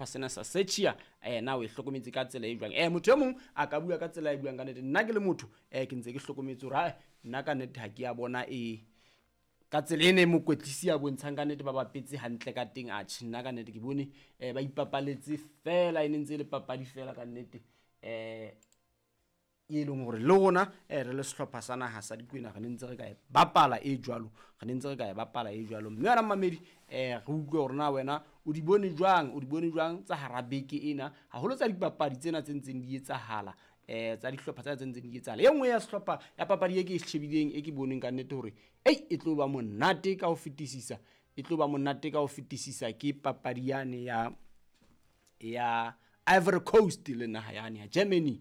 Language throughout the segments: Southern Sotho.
Sena sa Czechia na o e hlokometse ka tsela e jwang? Motho e mong a ka bua ka tsela e buang ka nnete. Nna ke le motho ke ntse ke hlokometse hore hai nna ka nnete ha ke a bona e ka tsela ena e mokwetlisi a bontshang ka nnete ba bapetse hantle ka teng. Atjhe, nna ka nnete ke bone ba ipapaletse fela, e ne ntse e le papadi fela ka nnete. E leng hore le rona re le sehlopha sa naha sa Dikwena re ne ntse re ka e bapala e jwalo, re ne ntse re ka e bapala e jwalo. Mme wena mmamedi re utlwe hore na wena o di bone jwang, o di bone jwang tsa hara beke ena, haholo tsa dipapadi tsena tse ntseng di etsahala, tsa dihlopha tsena tse ntseng di etsahala. E nngwe ya sehlopha ya papadi e ke e shebileng, e ke boneng ka nnete hore ei e tlo ba monate ka ho fetisisa, e tlo ba monate ka ho fetisisa ke papadi yane ya Ivory Coast le naha yane ya Germany.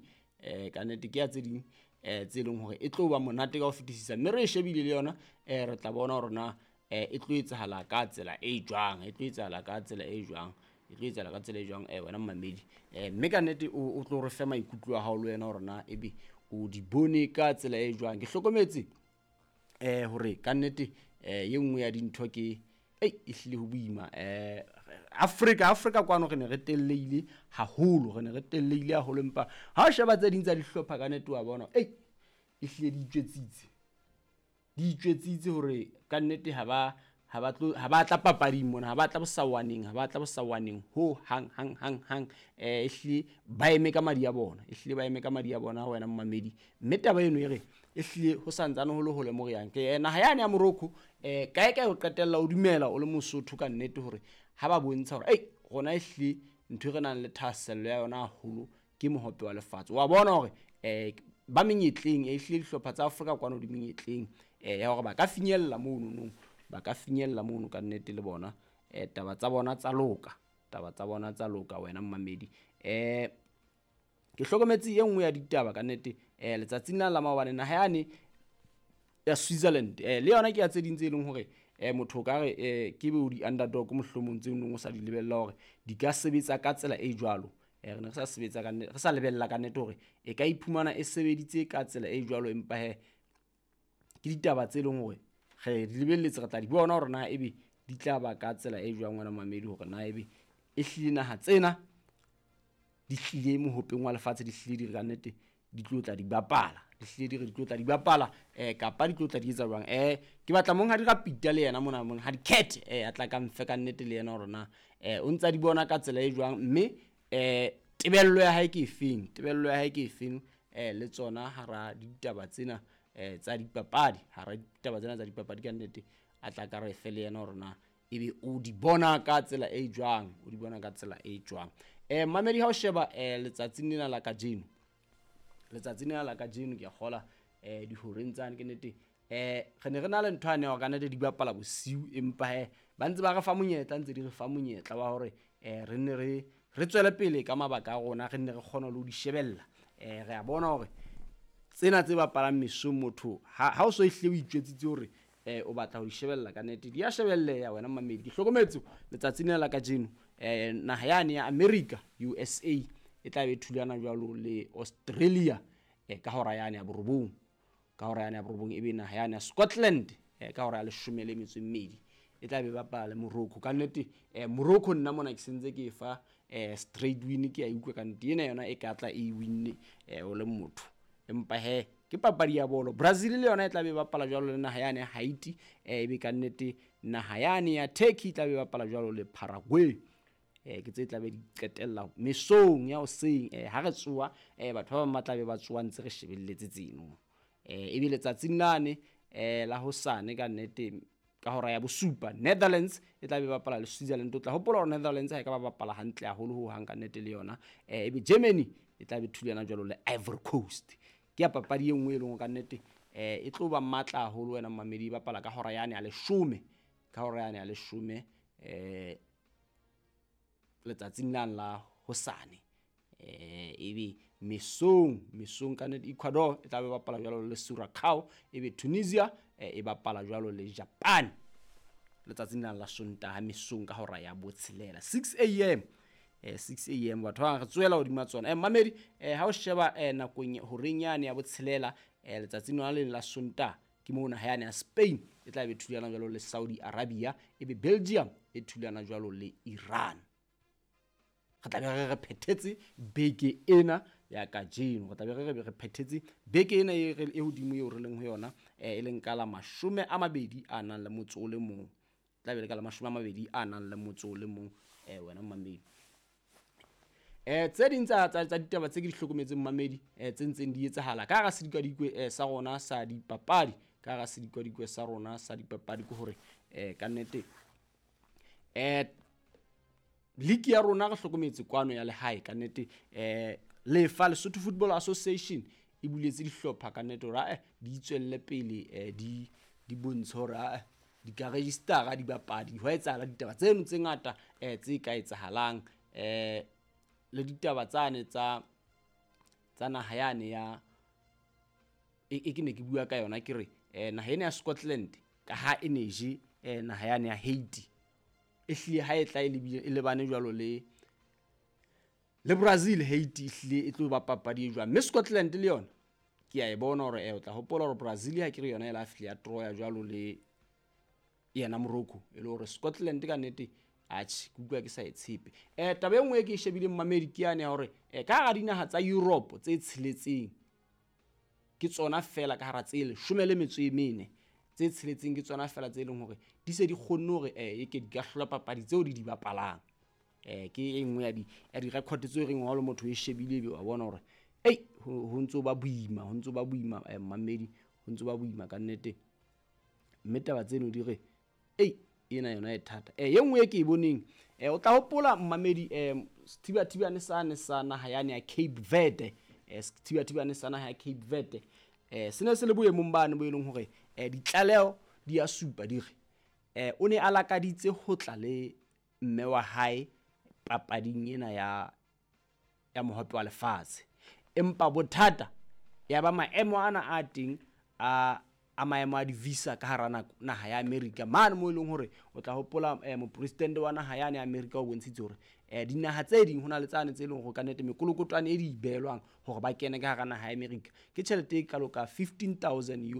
Ka nnete ke ya tse ding tse leng hore e tlo ba monate ka ho fetisisa, mme re e shebile le yona re tla bona hore na e tlo etsahala ka tsela e jwang, e tlo etsahala ka tsela e jwang, e tlo etsahala ka tsela e jwang wena mmamedi. Mme ka nnete o tlo re fe maikutlo a hao le wena hore na ebe o di bone ka tsela e jwang. Ke hlokometse hore ka nnete e nngwe ya dintho ke ei e hlile ho boima. Afrika kwano re ne re telleile haholo, re ne re telleile haholo, empa ha o sheba tse ding tsa dihlopha ka nnete wa bona ei e hlile di itjwetsitse, di itjwetsitse hore ka nnete ha ba tla papading mona, ha ba tla bosawaneng, ha ba tla bosawaneng ho hang hang hang hang. E hlile ba eme ka madi a bona, e hlile ba eme ka madi a bona wena mmamedi. Mme taba eno e re e hlile ho santsane ho le hole mo re yang. Ke naha yane ya Morocco kae kae o qetella o dumela o le Mosotho ka nnete hore ha ba bontsha hore ei rona e hlile ntho e re nang le thahasello ya yona haholo ke mohope wa lefatshe. Wa bona hore ba menyetleng, e hlile dihlopha tsa Afrika kwano di menyetleng ya hore ba ka finyella mono nong, ba ka finyella mono ka nnete le bona. Taba tsa bona tsa loka, taba tsa bona tsa loka wena mmamedi. Ke hlokometse e nngwe ya ditaba ka nnete letsatsing la maobane naha yane ya Switzerland le yona ke ya tse ding tse leng hore motho o ka re ke be o di underdog mohlomong tse nong o sa di lebella hore di ka sebetsa ka tsela e jwalo. Re ne re sa sebetsa ka nnete, re sa lebella ka nnete hore e ka iphumana e sebeditse ka tsela e jwalo, empa he ke ditaba tse leng hore re di lebelletse, re tla di bona hore na ebe di tla ba ka tsela e jwang wena mamedi, hore na ebe e hlile naha tsena di hlile mohopeng wa lefatshe, di hlile di re ka nnete di tlo tla di bapala, di hlile di re di tlo tla di bapala kapa di tlo tla di etsa jwang. Ke batla monghadi Rapita le yena mona, monghadi Cat a tla ka mfe ka nnete le yena hore na o ntsa di bona ka tsela e jwang, mme tebello ya hae ke efeng, tebello ya hae ke efeng le tsona hara ditaba tsena tsa dipapadi, hara ditaba tsena tsa dipapadi ka nnete a tla ka re fe le yena hore na ebe o di bona ka tsela e jwang, o di bona ka tsela e jwang. Mamedi ha o sheba letsatsing lena la kajeno, letsatsing lena la kajeno ke a kgola dihoreng tsane ke nnete re ne re na le ntho yane ya hore ka nnete di bapala bosiu, empa he ba ntse ba re fa monyetla, ntse di re fa monyetla wa hore re nne re tswele pele ka mabaka a rona, re nne re kgone le ho di shebella. Re a bona hore tsena tse bapalang mesong motho ha o so ehlile o itjwetsitse hore o batla ho di shebella ka nnete di a shebelleha wena mamedi. Ke hlokometse letsatsing lena la kajeno naha yane ya America USA e tla be thulana jwalo le Australia ka hora yane ya borobong, ka hora yane ya borobong ebe naha yane ya Scotland ka hora ya 12 e tla be bapala le Morocco. Ka nnete Morocco nna mona ke sentse ke e fa straight win, ke a utlwa ka nnete ena yona e ka tla e winne o le motho, empa he ke papadi ya bolo. Brazil le yona e tla be bapala jwalo le naha yane ya Haiti, ebe ka nnete naha yane ya Turkey e tla be bapala jwalo le Paraguay. Ke tse tla be di qetella mesong ya hoseng ha re tsoha batho ba bang ba tla be ba tsoha ntse re shebelletse tseno. Ebe letsatsing lane la hosane ka nnete ka hora ya bosupa Netherlands e tla be bapala le Switzerland. O tla hopola hore Netherlands ha e ka ba bapala hantle haholo ho hang ka nnete le yona. Ebe Germany e tla be thulana jwalo le Ivory Coast. Ke ya papadi e nngwe e leng ka nnete e tlo ba matla haholo wena mamedi, e bapala ka hora yane ya leshome, ka hora yane ya leshome letsatsing la hosane. Ebe mesong ka nnete Ecuador e tla be bapala jwalo le Curacao, ebe Tunisia e bapala jwalo le Japan letsatsing la Sontaha mesong ka hora ya botshelela 6 am. 6 am batho ba re tswela hodima tsona. Mamedi ha o sheba nakong horeng yane ya botshelela letsatsing la leng la Sontaha ke moo naha yane ya Spain e tla be thulana jwalo le Saudi Arabia, ebe Belgium e thulana jwalo le Iran. Re tla be re re phethetse beke ena ya kajeno, re tla be re re re phethetse beke ena e re e hodimo eo re leng ho yona, e leng ka la 21, tla be le ka la 21, wena mmamedi. Tse ding tsa ditaba tse ke di hlokometseng mmamedi, tse ntseng di etsahala ka hara sedikadikwe sa rona sa dipapadi, ka hara sedikadikwe sa rona sa dipapadi ke hore ka nnete league ya rona re hlokometse kwano ya lehae ka nnete, lefa Lesotho Football Association e buletse dihlopha ka nnete hore ae di tswelle pele, di bontshe hore ae di ka registera dibapadi, hwa etsahala ditaba tseno tse ngata tse ka etsahalang, le ditaba tsane tsa naha yane ya e ke ne ke bua ka yona, ke re naha ena ya Scotland ka ha e ne je naha yane ya Haiti, e hlile ha e tla e lebile e lebane jwalo le Brazil. Haiti e hlile e tlo ba papadi e jwang, mme Scotland le yona ke a e bona hore o tla hopola hore Brazil ha ke re yona e la fihla ya troya jwalo le yena Morocco, e le hore Scotland ka nnete atjhe ke utlwa ke sa e tshepe. Taba e nngwe e ke e shebileng mmamedi ke yane ya hore ka hara dinaha tsa Europe tse tsheletseng, ke tsona fela ka hara tse 14, tse tsheletseng ke tsona fela tse leng hore di se di kgonne hore eke di ka hlola papadi tseo di di bapalang. Ke e nngwe ya di-record tseo reng ha o le motho o e shebile ebe wa bona hore ei ho ntso ba boima, ho ntso ba boima, mmamedi, ho ntso ba boima ka nnete. Mme taba tseno di re ei ena yona e thata. E nngwe e ke e boneng, o tla hopola mmamedi, sethibathibane sane sa naha yane ya Cape Verde, sethibathibane sa naha ya Cape Verde, se ne se le boemong bane bo e leng hore ditlaleho di a supa di re o ne a lakaditse ho tla le mme wa hae papading ena ya mohope wa lefatshe, empa bothata ya ba maemo ana a teng a maemo a di-visa ka hara naha ya America mane, mo e leng hore o tla hopola mopresidente wa naha yane ya America o bontshitse hore dinaha tse ding ho na le tsane tse leng hore ka nnete mekolokotwane e di behelwang hore ba kene ka hara naha ya America ke tjhelete e kalo ka 15,000